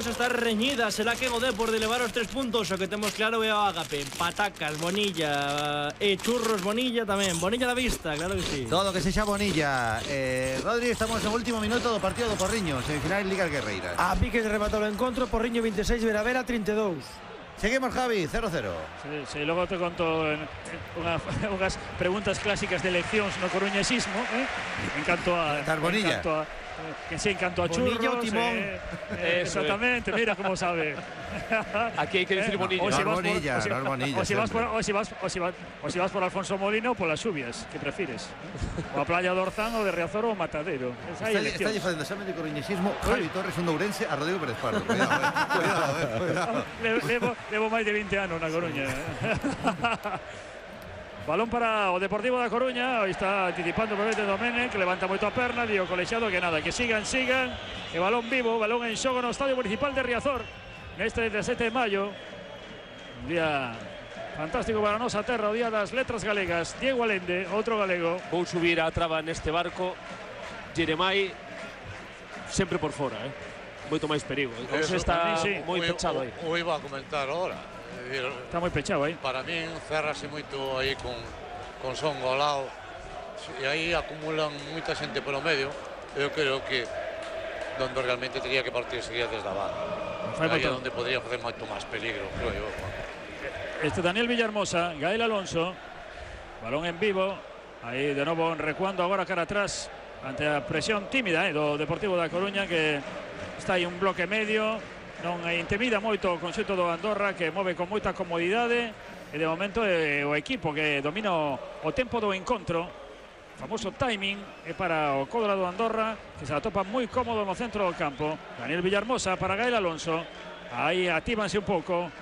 está reñida. Será que o Depor de levar os 3 puntos. O que temos claro é o Ágape, patacas, Bonilla e churros Bonilla tamén. Bonilla da vista, claro que sí. Todo que sexa Bonilla. Rodri, estamos no último minuto do partido do Porriño, semifinal Liga Guerreiras. A pique de rematou o encontro, Porriño 26, Veravera 32. Seguimos, Javi, 0-0. Sí, logo te conto unhas preguntas clásicas de eleccións no coruñesismo, en canto a Bonilla. En canto a churros, Bonilla o Timón. Exactamente, mira como sabe. Aquí hai que decir Bonilla. O si vas por Alfonso Molino, por las lluvias, que prefires? O a Playa de Orzán, o de Riazor, o Matadero. Está facendo exame de coruñesismo Javi Torres, un ourense, a Rodrigo Pérez Pardo. Cuidado. Levo máis de 20 anos na Coruña. Balón para o Deportivo da Coruña. Aí está anticipando o Bebete Domenech, que levanta moito a perna. Dio colexiado que nada, que sigan. E balón vivo, balón en xogo no Estadio Municipal de Riazor neste 17 de maio. Un día fantástico para a nosa terra, o día das letras galegas. Diego Allende, outro galego. Vou subir a traba neste barco. Jeremai sempre por fora, moito máis perigo. Eso está moi pechado aí. O iba a comentar ahora. Está moi pechado aí. Para min cerrase moito aí con Son Golao. E aí acumulan moita xente polo medio. Eu creo que donde realmente teria que partir sería desde a banda. Aí é onde podría facer moito máis peligro, creo eu. Daniel Villahermosa, Gael Alonso. Balón en vivo. Aí de novo recuando agora cara atrás ante a presión tímida do Deportivo da Coruña, que está aí un bloque medio. Non intimida moito o conxunto do Andorra, que move con moita comodidade, e de momento é o equipo que domina o tempo do encontro. Famoso timing é para o Codra do Andorra, que se atopa moi cómodo no centro do campo. Daniel Villahermosa para Gael Alonso. Aí actívanse un pouco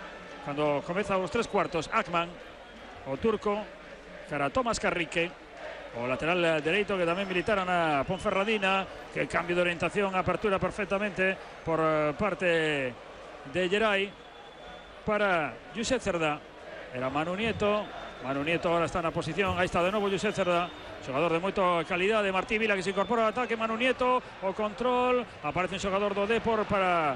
cando comeza os 3/4. Akman, o turco, cara Tomás Carrique, o lateral dereito, que tamén militara na Ponferradina, que cambio de orientación, apertura perfectamente por parte de Geray para Josep Cerdá. Era Manu Nieto ahora está na posición. Aí está de novo Josep Cerdá, xogador de moita calidade. Martí Vila, que se incorpora ao ataque. Manu Nieto, o control, aparece un xogador do Depor para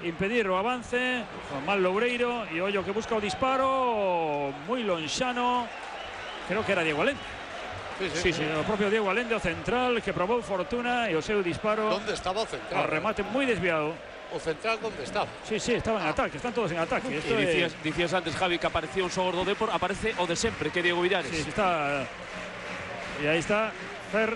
impedir o avance. Juan Loureiro, e ollo que busca o disparo moi lonxano, creo que era Diego Allende. Sí, o propio Diego Allende, o central, que probou fortuna, e o seu disparo. Onde estaba o central? O remate moi desviado. O central onde estaba? Sí, estaba en ataque, están todos en ataque. Dicías antes, Javi, que aparecía un xogador do Depor, aparece o de sempre, que é Diego Villares. Sí, está. E aí está Fer.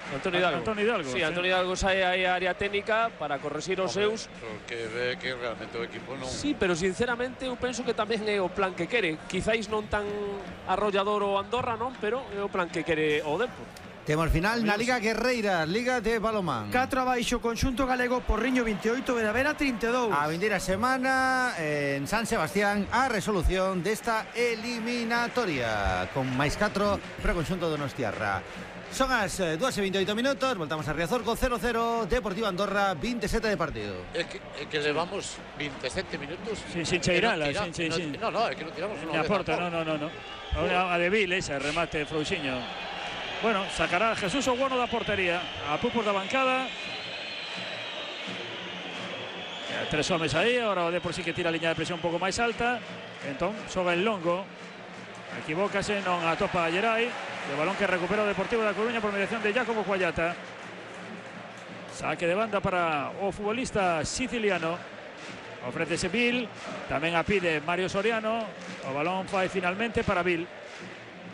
Antonio Hidalgo. Sí, Antonio Hidalgo sae aí a área técnica para corregir os seus. Porque ve que realmente o equipo non... Sí, pero sinceramente eu penso que tamén é o plan que quere. Quizáis non tan arrollador o Andorra, non? Pero é o plan que quere o Depor. Temos final na Liga Guerreiras, Liga de Balomán. 4 abaixo, conxunto galego, Porriño 28, Veravera 32. A vindeira semana en San Sebastián a resolución desta eliminatoria con máis 4 para o conxunto donostiarra. Son as 2:28 minutos, voltamos a Riazor con 0-0, Deportivo Andorra 27 de partido. É que levamos 27 minutos sin cheirala, No, é que non tiramos unha vez. No. A de Vil, ese remate Frouxiño. Bueno, sacará Jesús Oguono da portería, a pupos da bancada. 3 homes aí, ahora o Depor sí que tira a liña de presión un pouco máis alta. Entón, xoga el longo. Equivócase, non atopa a Geray. O balón que recupera o Deportivo da Coruña por mediación de Jacobo Cuallata. Saque de banda para o futbolista siciliano. Ofrécese Vil, tamén a pide Mario Soriano. O balón fai finalmente para Vil.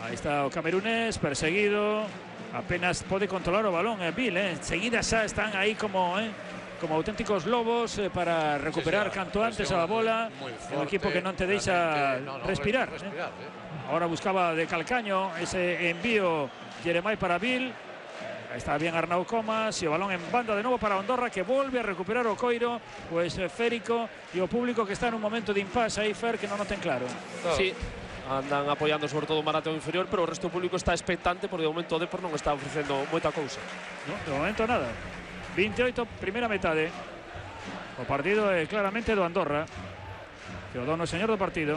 Aí está o camerunés, perseguido. Apenas pode controlar o balón Vil, Seguida xa están aí como auténticos lobos para recuperar canto antes a bola. Un equipo que non te deixa respirar. Ahora buscaba de calcaño ese envío Jeremai para Vil. Aí está bien Arnau Comas, e o balón en banda de novo para Andorra, que volve a recuperar o coiro o esférico, e o público que está en un momento de impasse aí, Fer, que non o ten claro. Sí, andan apoiando sobre todo o Marateo inferior, pero o resto do público está expectante porque de momento o Depor non está ofrecendo moita cousa. No, de momento nada. 28, primeira metade. O partido é claramente do Andorra, que o dono señor do partido.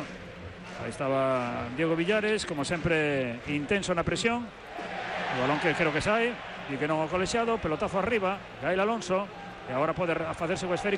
Aí estaba Diego Villares, como sempre intenso na presión. O balón que creo que sai e que non o colexiado, pelotazo arriba, Gael Alonso, e agora pode facerse o esférico